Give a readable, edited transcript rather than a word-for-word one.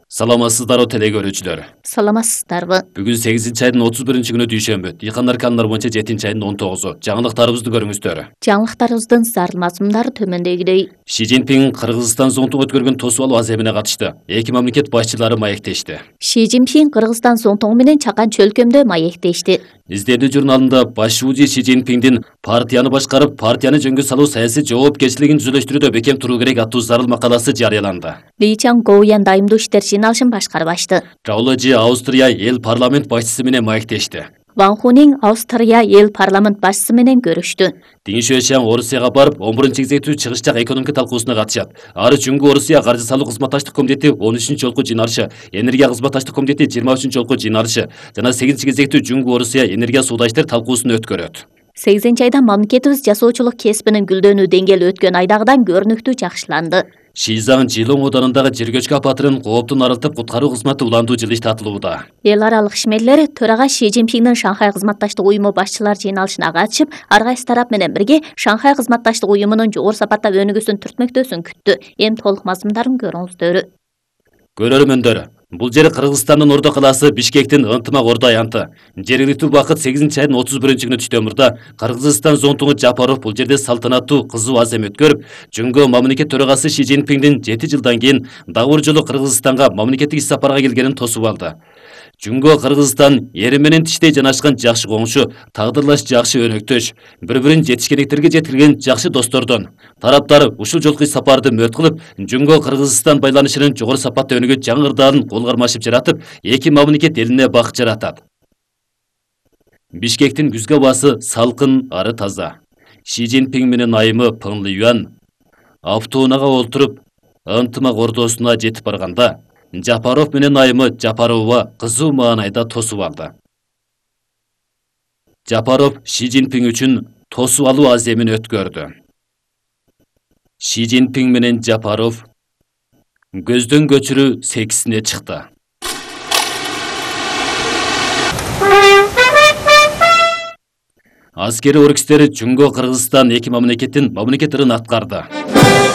Саламатсыздарбы теле көрүүчүлөр. Саламатсыздарбы. Бүгүн 8-айдын 31-күнү дүйшөмбү. Дыйкандар каналары боюнча 7-айдын 19-у. Жаңылыктарыбызды көрүңүздөр. Жаңылыктарыбыздын зарыл мазмундары төмөндөгүдөй. Ши Цзиньпин Кыргызстан Зоңтуң өткөргөн тосуп алуу аземине катышты. Эки мамлекет башчылары маектешти. Ши Цзиньпин Кыргызстан Зоңтуң менен чакан чөлкөмдө маектешти. Изденүү журналында баш шуузи Ши Цзиньпиндин партияны башкарып, партияны жөнгө салуу саясий жоопкерчилигин түзөлөштүрүүдө бекем туруу керек аттуу зарыл макаласы жарыяланды. Ли Чан Гоуян дайымдуу иштер жыйналышын башкарып ачты. Раулажи Австрия эл парламент башчысы менен маектешти. Ван Хунин Австрия эл парламент башчысы менен көрүштү. Дин Шуэшян Орусияга барып, 11-кезектүү чыгышчак экономика талкуусуна катышат. Ары Жүнгө Орусия каржы салуу кызматташтык комитети 13 жолку жыйналышы, энергия кызматташтык комитети 23 жолку жыйналышы жана 8-кезектүү Жүнгө Орусия энергия сууда иштер талкуусун өткөрөт. 8-айда мамлекетибиз жасоочулук кесибинин гүлдөнүү деңгээли өткөн айдагыдан көрүнүктүү жакшыланды. Шизаң Жылоң оданындагы жер көчкү апатынан кооптун арылтып куткаруу кызматы уландуу жылыш татылууда. Эл аралык ишмерлер төрага Ши Цзиньпиндин Шанхай кызматташтык уюму башчылар жыйналышына катышып, ар кайсы тарап менен бирге Шанхай кызматташтык уюмунун жогору сапатта өнүгүүсүн түртмөктөөсүн күттү. Эми толук мазмундарын көрүңүздөр. Көрөрмөндөр, бул жер Кыргызстандын Ордо калаасы Бишкектин ынтымак Ордо аянты. Жергиликтүү убакыт 8-айдын 31-күнү түштөмүрдө Кыргызстан Зоңтуңу Жапаров бул жерде салтанаттуу кызуу азем өткөрүп, Жүнгө мамлекет төрагасы Ши Цзиньпиндин 7 жылдан кийин дагы бир жолу Кыргызстанга мамлекеттик ис сапарга келгенин тосуп алды. Жүнгө Кыргызстан эри менен тиштей жанашкан жакшы коңшу, тагдырлаш жакшы өнөктөш, бири-бирин жетишкендиктерге жеткирген жакшы достордон. Тараптар ушул жолку сапарды мөт кылып, Жүнгө Кыргызстан байланышынын жогору сапатта өнүгүү жаңы ырдаалын кол кармашып жаратып, эки мамлекет элине бакыт жаратат. Бишкектин күзгү абасы салкын, ары таза. Ши Цзиньпин менен айымы Пын Лиюан автоунаага олтуруп, ынтымак Ордосуна жетип барганда, Жапаров менен айымы Жапарова кызуу маанайда тосуп алды. Жапаров Ши Цзиньпин үчүн тосуп алуу аземин өткөрдү. Ши Цзиньпин менен Жапаров көздөн көчүрүү сексине чыкты. Аскери оркестери Жүнгө Кыргызстан эки мамлекеттин мамлекет ырын аткарды.